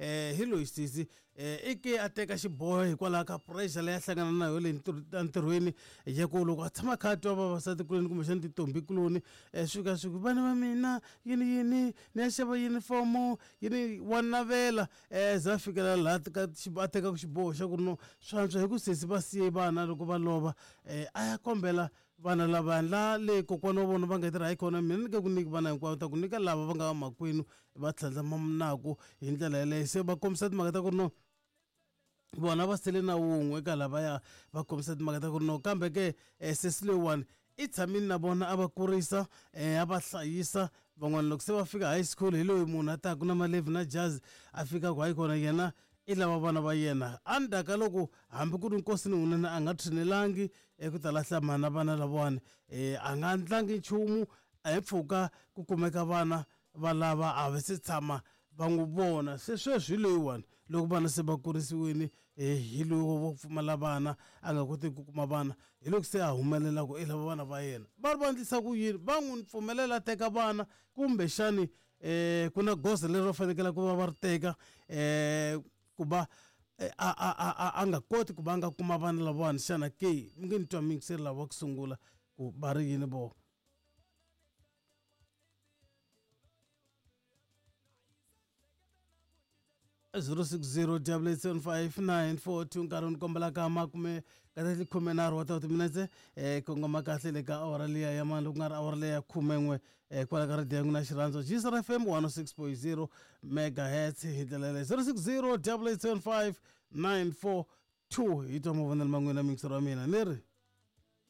Hi loyi sesi i ke a teka xiboho hikwalaho ka pressure leyi a hlangana na yona le entirhweni ya ku loko a tshama a kha a twa vavasati kuloni kumbexana tintombi kuloni swi fika swi ku vana va mina yini yini ni ya xava yunifomo yini wa navela za a fikela laha ka a tekaka xiboho xa ku ri no swi antswa hi ku sesi va siye vana loko va lova a ya kombela Vana lavaya la le kokwana wa vona va nga tirha hi kona mina ni nge ku nyiki vana hinkwavo ta ku nyika lava va nga vamakwenu va tlhandlama naku hi ndlela yeleyo se va kombisa timhaka ta ku ri no vona va sele na wun'we eka lavaya va kombisa timhaka ta ku ri no kambe ke sesi leyiwani i tshamile na vona a va kurisa a va hlayisa van'wana loko se va fika high school hi loyi munhu a taku na malevhi na jazi a fika ku hayi kona yena i lava vana va yena endzhaku ka loko hambi ku ri nkosi ni wunene a nga tshinelangi eku ta lahla mhana vana lavawani a nga ndlangi nchumu a hi mpfhuka ku kumeka vana va lava a va se tshama va n'wi vona se sweswi hi loyiwani loko vana se va kurisiwile hi loyi wo pfumala vana a nga kotiki ku kuma vana hi loko se a humelela ku i lava vana va yena va ri va endlisa ku yini va n'wi pfumelela a teka vana kumbexani ku na goza leri va fanekele ku va va ri teka ku va a a a a a nga koti ku va a nga kuma vana lavawani xana ke mi nge ni twa muyingiseri lava ku sungula ku va ri yini voho. 060 nkarhi ni kombela ka makume ka khumenharhu wa timinetse kongoma kahle le ka awara liya ya mani loko ku nga ri awara leya ya khumen'we kwala ka radiyo ya n'wina xirhandzo gsr fm 106.0 megahertz hi ndlela yaleyo 060 875 942 hi twa mavonelo ma n'wina miyingiseri wa mina ni ri.